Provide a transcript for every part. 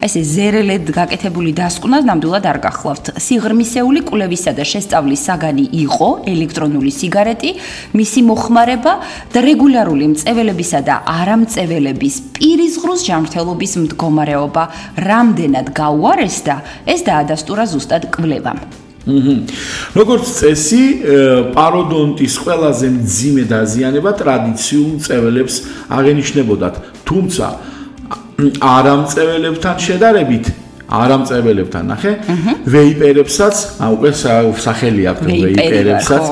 ესე ზერელედ გაკეთებული დასკვნა ნამდვილად არ გახლავთ. სიღრმისეული კვლევისა და შესწავლის საგანი იყო ელექტრონული სიგარეტი, მისი მოხმარება და რეგულარული მწეველებისა და არამწეველების პირისღრუს ჯანმრთელობის მდგომარეობა რამდენად გაუარესდა, ეს დაადასტურა ზუსტად კვლევამ. როგორც წესი, პაროდონტის ყველაზე მძიმე დაზიანება ტრადიციულ მწეველებს აღენიშნებოდათ, თუმცა არამწეველებთან შედარებით, არამწეველებთან ნახე, ვეიპერებსაც, უკვე სახელი აქვს ვეიპერებსაც,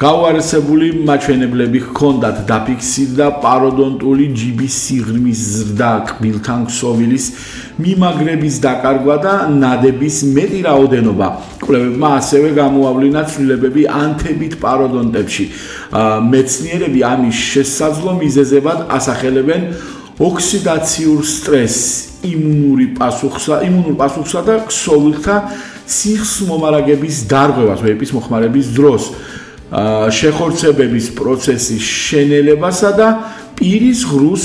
გაუარესებული მაჩვენებლები ჰქონდათ დაფიქსირდა პაროდონტული ჯიბის სიღრმის ზრდა, კბილთან ქსოვილის მიმაგრების დაკარგვა და ნადების მეტი რაოდენობა. კვლევებმა ასევე გამოავლინათ ცვლილებები ანთებით პაროდონტებში. მეცნიერები ამის შესაძლო მიზეზებად ასახელებენ ოქსიდაციურ სტრესს, იმუნურ პასუხსა და ქსოვილთა სიხს მომარაგების დარღვევას ვეიპის მოხმარების დროს, შეხორცებების პროცესის შენელებასა და პირის ღრუს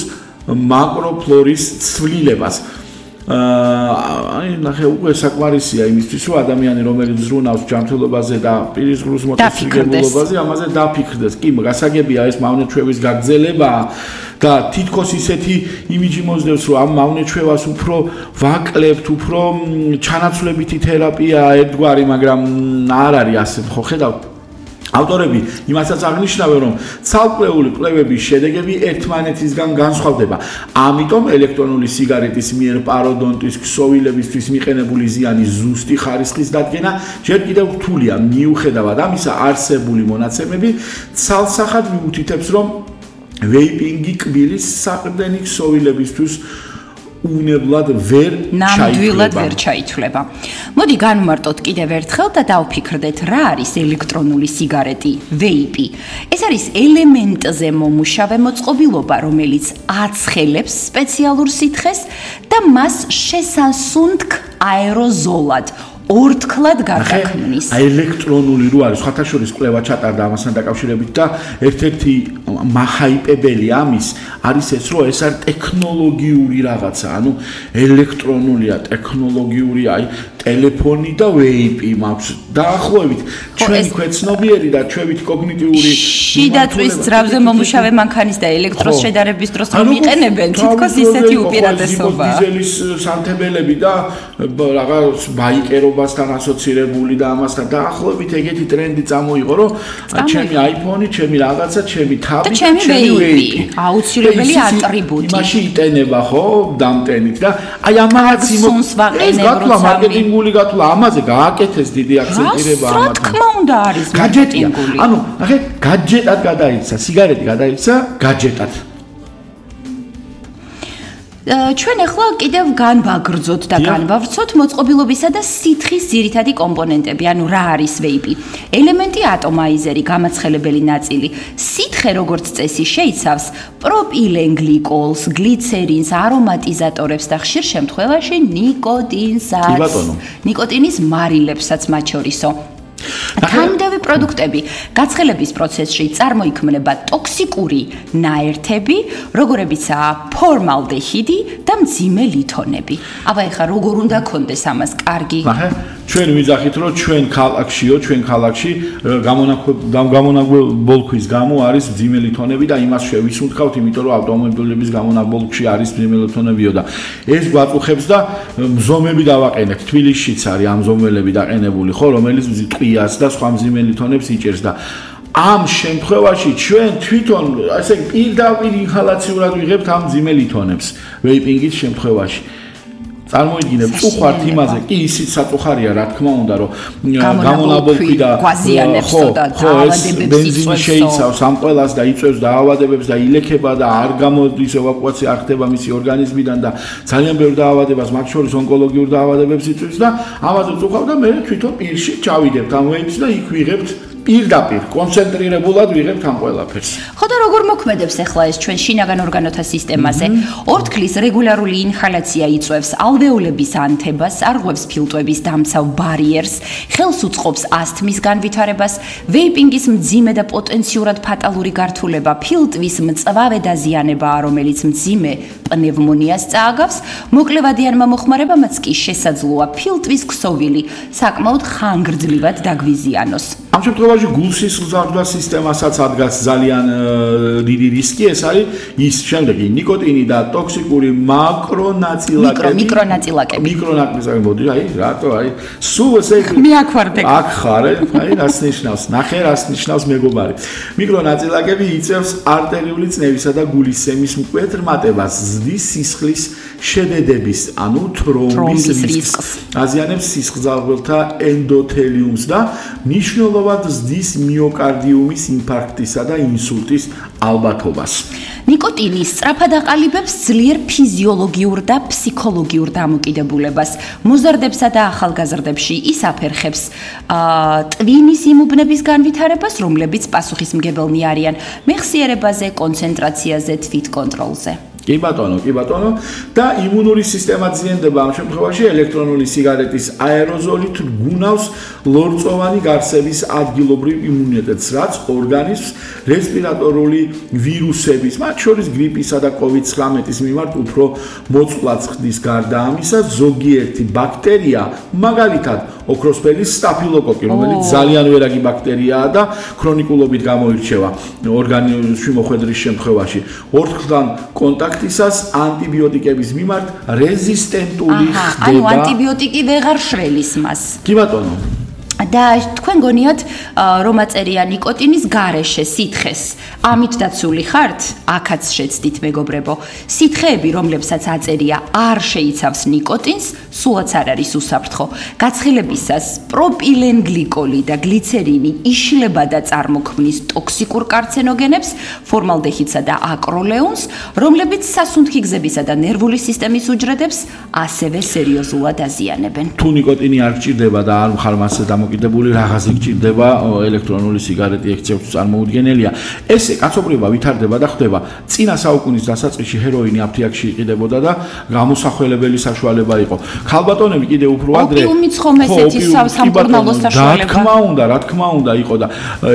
მაკროფლორის ცვლილებას. ნახე, უკვე საკმარისია იმისთვის, რომ ადამიანი, რომელიც ზრუნავს ჯანმრთელობაზე და პირის ღრუს მოტაცებულობაზე, ამაზე დაფიქრდეს. კი, გასაგებია ეს მავნეჩვევის გაგრძელება და თითქოს ისეთი იმიჯი მოსდევს, რომ ამ მავნეჩვევას უფრო ვაკლებთ, უფრო ჩანაცვლებითი თერაპია ერთგვარი, მაგრამ არ არის ასე, ხო ხედავთ? ავტორები იმასაც აღნიშნავენ, რომ ცალკეული კვლევების შედეგები ერთმანეთისგან განსხვავდება. ამიტომ ელექტრონული სიგარეტის მიერ პაროდონტის ქსოვილებისთვის მიყენებული ზიანის ზუსტი ხარისხის დადგენა ჯერ კიდევ რთულია. მიუხედავად ამისა, არსებული მონაცემები ცალსახად მიუთითებს, რომ ვეიპინგი კბილის საყრდენი ქსოვილებისთვის უნებლად ნამდვილად ვერ ჩაითვლება. მოდი განვმარტოთ კიდევ ერთხელ და დავფიქრდეთ, რა არის ელექტრონული სიგარეტი, ვეიპი. ეს არის ელემენტზე მომუშავე მოწყობილობა, რომელიც აცხელებს სპეციალურ სითხეს და მას შესასუნთქ აეროზოლად ორთქლად გარდაქმნის. ელექტრონული რო არის, სხვათა შორის კვლევა ჩატარდა ამასთან დაკავშირებით და ერთ-ერთი მახაიპებელი ამის არის ეს, რომ ეს არის ტექნოლოგიური რაღაცა, ანუ ელექტრონულია, ტექნოლოგიური, აი ტელეფონი და ვეიპი მაქვს. დაახლოებით ჩვენ ქვეცნობიერი და ჩვენით კოგნიტიური შიდაწვის ძრავზე მომუშავე მანქანის და ელექტროს შედარების დროს რომ იყენებენ, თითქოს ისეთი უპირატესობა. დიზელის სამთებელები და რაღაც ბაიკერობასთან ასოცირებული და ამასთან დაახლოებით ეგეთი ტრენდი წამოიღო, რომ ჩემი iPhone-ი, ჩემი რაღაცა, ჩემი თავი, ჩემი ვეიპი, აუცილებელი ატრიბუტი. იმაში იტენება ხო, დამტენით და აი ამაც მარკეტინგული გათვლა, ამაზე გააკეთეს დიდი აქცენტირება ამათ. რა თქმა უნდა არის მარკეტინგული. ანუ ნახე, гаджеტად გადაიქცა, სიგარეტი გადაიქცა гаджеტად. ჩვენ ახლა კიდევ განვაგრძოთ და განვავრცოთ მოწყობილობისა და სითხის ძირითადი კომპონენტები, ანუ რა არის ვეიპი. ელემენტი ატომაიზერი, გამაცხელებელი ნაწილი. სითხე როგორც წესი შეიცავს პროპილენგლიკოლს, გლიცერინს, არომატიზატორებს და ხშირ შემთხვევაში ნიკოტინსაც. ნიკოტინის მარილებსაც მათ შორისო. თანმიმდევრი პროდუქტები გაცხელების პროცესში წარმოიქმნება ტოქსიკური ნაერთები, როგორებიცაა ფორმალდეჰიდი და მძიმე ლითონები. აბა ეხლა როგორ უნდა გქონდეს ამას კარგი? ჩვენ ვიძახით, რომ ჩვენ ქალაქში გამონაბოლქვის გამო არის მძიმე ლითონები და იმას შევისუნთქავთ, იმიტომ რომ ავტომობილების გამონაბოლქში არის მძიმე ლითონებიო და ეს გვაწუხებს და მზომები დავაყენეთ. თბილისშიც არის ამ მზომელები დაყენებული, ხო, რომელიც ტყიას და სხვა მძიმე ლითონებს იჭერს და ამ შემთხვევაში ჩვენ თვითონ ასე პირდაპირ ინჰალაციურად ვიღებთ ამ მძიმე ლითონებს ვეიპინგის შემთხვევაში. წარმოიდგინეთ, უხართ იმაზე, კი ისიც საწუხარია, რა თქმა უნდა, რომ გამონაბოლქვი და ხო, ეს ბენზინი შეიცავს ამ ყველას და იწვევს დაავადებებს და ილექება და არ გამოდის ევაკუაცია არ ხდება მისი ორგანიზმიდან და ძალიან ბევრ დაავადებას, მათ შორის ონკოლოგიურ დაავადებებს იწვევს და ამაზე წუხავ და მე თვითონ პირში ჩავიდებთ ამ ვეიპს და იქ ვიღებთ პირდაპირ კონცენტრირებულად ვიღებთ ამ ყველაფერს. ხო და როგორ მოქმედებს ახლა ეს ჩვენ შინაგან ორგანოთა სისტემაზე? ორთქლის რეგულარული ინჰალაცია იწვევს ალვეოლების ანთებას, არღვევს ფილტვების დამცავ ბარიერს, ხელს უწყობს ასთმის განვითარებას, ვეიპინგის მძიმე და პოტენციურად ფატალური გართულება ფილტვის მწვავე დაზიანებაა, რომელიც მძიმე პნევმონიას წააგავს, მოკლევადიანმა მოხმარებამაც კი შესაძლოა ფილტვის ქსოვილი საკმაოდ ხანგრძლივად დაგვიზიანოს. ამ შემთხვევაში გულსისხლძარღვთა სისტემასაც ადგას ძალიან დიდი რისკი, ეს არის ის შემდეგი ნიკოტინი და ტოქსიკური მიკრონაწილაკები. მიკრონაწილაკები, მოდი, აი, რატო, აი, სულ ესე მე აქ ვარ დეგ. აქ ხარ, აი, რას ნიშნავს? ნახე, რას ნიშნავს მეგობარი. მიკრონაწილაკები იწევს არტერიული წნევისა და გულისცემის მკვეთრ ზრდის სისხლის შედედების, ანუ თრომბის რისკს. აზიანებს სისხლძარღვთა ენდოთელიუმს და მნიშვნელოვნად ზრდის მიოკარდიუმის ინფარქტისა და ინსულტის ალბათობას. ნიკოტინი სწრაფად აყალიბებს ძლიერ ფიზიოლოგიურ და ფსიქოლოგიურ დამოკიდებულებას. მოზარდებსა და ახალგაზრდებში ის აფერხებს ტვინის იმუბნების განვითარებას, რომლებიც პასუხისმგებელნი არიან მეხსიერებაზე, კონცენტრაციაზე, თვითკონტროლზე. კი ბატონო და იმუნური სისტემა ძიენდება ამ შემთხვევაში ელექტრონული სიგარეტის აეროზოლით გუნავს ლორწოვანი გარსების ადგილობრივ იმუნიტეტს, რაც ორგანიზმს რესპირატორული ვირუსების, მათ შორის გრიპისა და COVID-19-ის მიმართ უფრო მოწყვლადს ხდის. გარდა ამისა, ზოგიერთი ბაქტერია, მაგალითად ოქროსფერის სტაფილოკოკი, რომელიც ძალიან ვერაგი ბაქტერიაა და ქრონიკულობით გამოირჩევა ორგანიზმში მოხვედრის შემთხვევაში, ორთქლთან კონტაქტისას ანტიბიოტიკების მიმართ რეზისტენტული ხდება. ანუ ანტიბიოტიკი ვეღარ შველის მას. კი ბატონო. და თქვენ გონიათ რომ აწერია ნიკოტინის გარეშე სითხეს. ამით დაცული ხართ? აქაც შეცდით მეგობრებო. სითხეები, რომლებსაც აწერია არ შეიცავს ნიკოტინს, სულაც არ არის უსაფრთხო. გაცხელებისას პროპილენგლიკოლი და გლიცერინი იშლება და წარმოქმნის ტოქსიკურ კარცენოგენებს, ფორმალდეჰიდსა და აკროლეუნს, რომლებიც სასუნთქი გზებისა და ნერვული სისტემის უჯრედებს ასევე სერიოზულად აზიანებენ. თუ ნიკოტინი არ გჭირდება და არ მხარ მასზე დამოკიდებული რაღაცი გჭირდება, ელექტრონული სიგარეტი ექცევს წარმოუდგენელია. ესე კაცობრიობა ვითარდება და ხდება. წინა საუკუნის დასაწყისში ჰეროინი აფთიაქში იყიდებოდა და გამოსახველებელი საშუალება იყო. ქალბატონები კიდე უფრო ადრე ოპიუმიც ხომ ესეთი სამკურნალო საშუალება. რა თქმა უნდა იყო და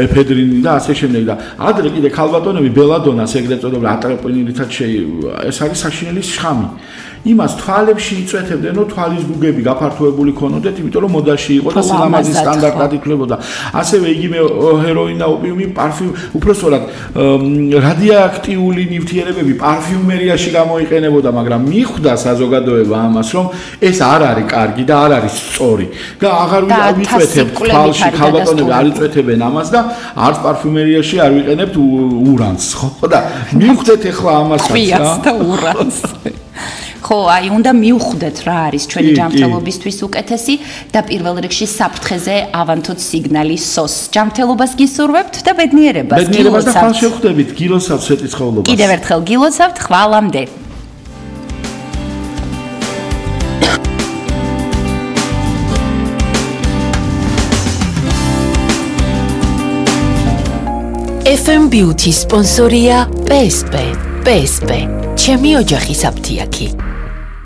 ეფედრინი და ასე შემდეგ და ადრე კიდე ქალბატონები ბელადონას ეგრეთ წოდებულ ატროპინილითაც ეს არის საშინელის შხამი. იმას თვალებში იწვეთებდნენ, რომ თვალის გუგები გაფართოებული ქონოდეთ, იმიტომ რომ მოდაში იყო და სილამაზის სტანდარტად ითვლებოდა. ასევე იგივე ჰეროინი და ოპიუმი უпроსტად რადიოაქტიული ნივთიერებები პარფიუმერიაში გამოიყენებოდა, მაგრამ მიხვდა საზოგადოება ამას, რომ ეს არ არის კარგი და არ არის სწორი. და აღარ ვიწვეთებთ თვალში, ქალბატონები არ იწვეთებენ ამას და არც პარფიუმერიაში არ ვიყენებთ ურანს, ხო? და მიხვდეთ ახლა ამასაც რა. ხო, აი, უნდა მივხვდეთ რა არის ჩვენი ჯანმრთელობისთვის უკეთესი და პირველ რიგში საფრთხეზე ავანთოთ სიგნალი SOS. ჯანმრთელობას გისურვებთ და ბედნიერებას. ბედნიერებას და ხალხს შევხვდებით, გილოცავთ სვეტიცხოვლობას. კიდევ ერთხელ გილოცავთ, ხვალამდე. FM Beauty სპონსორია PSP. PSP. ჩემი ოჯახის აფთიაქი.